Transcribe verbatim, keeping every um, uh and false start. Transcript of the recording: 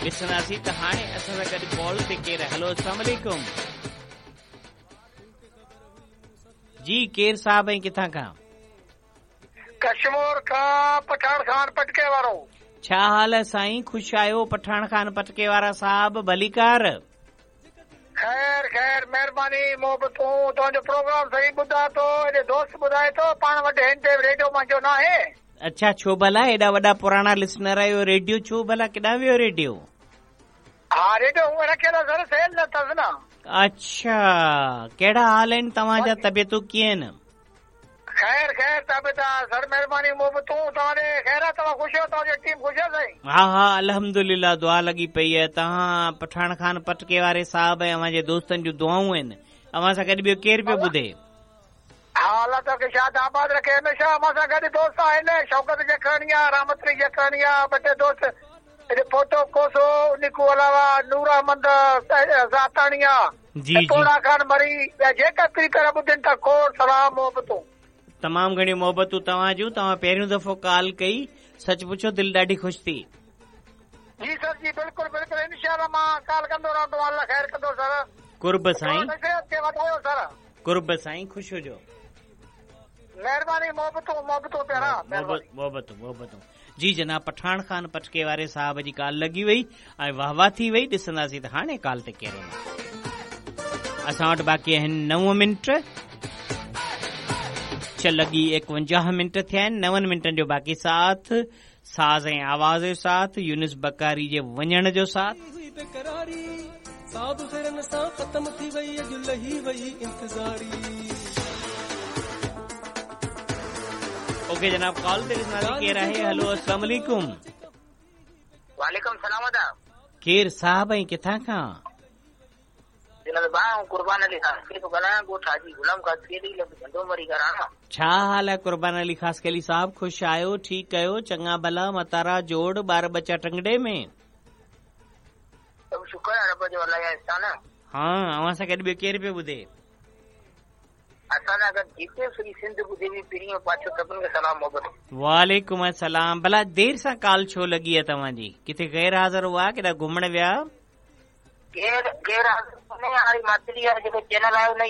ॾिसंदासीं त हाणे असां सां गॾु कॉल ते केरु। हलो, अस्सलाम वालेकुम जी, केरु साहब ऐं किथां खां? कश्मोर खां, पठाण खान पटके वारो। छा हाल आहे साईं? ख़ुशि आहियो पठाण खान पटके वारा साहब, भलीकार। ख़ैर ख़ैर, महिरबानी मोहबतूं। तव्हांजो प्रोग्राम सही ॿुधां थो, हेॾे दोस्त ॿुधाए थो, पाण वटि हिन ते रेडियो मुंहिंजो न आहे। अच्छा, छो भला एॾा वॾा पुराणा लिसनर आहियो, रेडियो छो भला केॾां वियो रेडियो? हा, रेडियो उहो रखियल आहे सर, सेल न अथसि न। अच्छा, कहिड़ा हाल आहिनि तव्हांजा, तबियतूं कीअं आहिनि? ख़ैर ख़ैर, तबियत सर महिरबानी मोहबतूं। तव्हां ख़ैर आहे, तव्हां ख़ुशि आहियो, तव्हांजी टीम ख़ुशि आहे साईं? हा हा, अल्हम्दुलिल्लाह, दुआ लॻी पई आहे। तव्हां पठाण खान पटके वारे साहब ऐं अव्हांजे दोस्तनि जूं दुआऊं आहिनि। अव्हां सां गॾु ॿियो केरु पियो ॿुधे? हा, अलाह तव्हांखे शाद आबाद रखे हमेशा। अव्हां सां गॾु दोस्त आहिनि, शौकत जखराणी आहे, रामतरी जखराणी आहे, ॿ टे दोस्त हेॾे फोटो कोसो, उन खां अलावा नूर अहमद साताणी आहे, जी पोड़ा खान मरी, ॿिया जेका प्री प्यारा ॿुधनि था, खोड़ सलाम मोहबतूं। तमामु घणियूं मोहबतूं तव्हां जूं। तव्हां पहिरियों दफ़ो कॉल कई, सच पुछो दिलि ॾाढी ख़ुशि थी। जी सर जी, बिल्कुलु बिल्कुलु, इंशाअल्लाह मां कॉल कंदो रहंदो, अलाह ख़ैर कंदो सर। कुर्ब साईं, वधायो सर। कुर्ब साईं, ख़ुशि हुजो। महिरबानी, मोहबतूं मोहबतूं प्यारा, मोहबतूं मोहबतूं। जी जनाब, पठाण खान पटके वारे साहब जी कॉल लॻी वई ऐं वाह वाह थी वई। ॾिसंदासीं त हाणे कॉल ते केरु। असां वटि बाक़ी आहिनि नव मिंट, छह लॻी एकवंजाह मिंट थिया आहिनि, नवनि मिंटनि जो बाक़ी साथ, साज़ ऐं आवाज़ जो साथ, यूनुस बकारी जे वञण जो साथ। ओके जनाब, कॉल ते ॾिसंदासीं केरु आहे। हलो, अस्सलाम वालेकुम। वालेकुम सलाम अदा। केरु साहब ऐं किथां खां? कुर्बान अली खासकेली थो ॻाल्हायां, ॻोठ हाजी गुलाम खासकेली, लॻ झंडो मरी घराना। छा हाल आहे कुर्बान अली खासकेली साहब? ख़ुशि आहियो? ठीकु आहियो? चङा भला, मतारा जोड़, ॿार बच्चा टंगड़े में? सभु शुक्र आहे रब जो, अलाह जा एहसान। हा, अव्हां सां गॾु ॿियो केरु पियो ॿुधे? असां सां गॾु जेके सॼी सिंध ॿुधे पई, पहिरियों पाछो सभिनि खे सलाम मोहबत। वालेकुम अस्सलाम। भला देरि सां कॉल छो लॻी आहे तव्हांजी? किथे गैर हाज़िर हुआ, केॾां घुमण विया? गैर गैर हाज़िर कोन्हे, हाणे मातिरी आहे जेको चैनल आहे उन